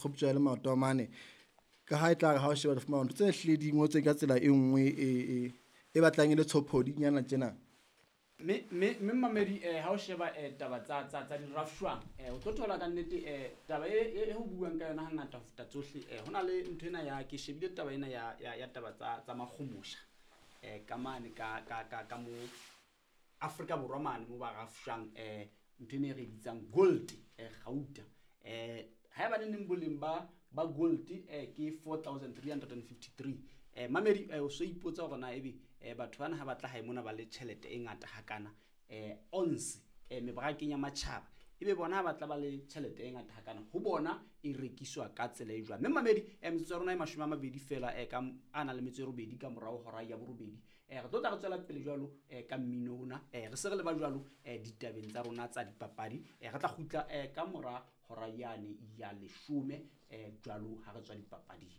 Kgoptjwa le maoto a mane. Ka ha e tla re ha o sheba le fumana ntho tse hlile di ngotswe ka tsela e nngwe e batlang e le tshophodinyana tjena. Mme mamedi, ha o sheba taba tsa dirafshwang, o tlo thola ka nnete taba e ho buang ka yona hangata ho feta tsohle. Ho na le ntho ena ya ke shebile taba ena ya taba tsa makgomosha, ka mane ka mo Afrika Borwa mane mo ba rafshwang, ntho ena e re bitsang gold, gauta. Haeba ne neng boleng ba gold ke 4353. Mamedi, o so ipotsa hore na ebe batho bana ha ba tla hae mona ba le tjhelete e ngata hakana, ons mebarakeng ya matjhaba, ebe bona ha ba tla ba le tjhelete e ngata hakana, ho bona e rekiswa ka tsela e jwang? Mme mamedi, metsotso ya rona e 20 feela, ka a nang le metso e 8 ka morao hora ya 8. Re tlo tla re tswela pele jwalo ka mmino ona, re se re leba jwalo ditabeng tsa rona tsa dipapadi. Re tla kgutla ka mora hora yane ya 10, jwalo ha re tswa dipapading.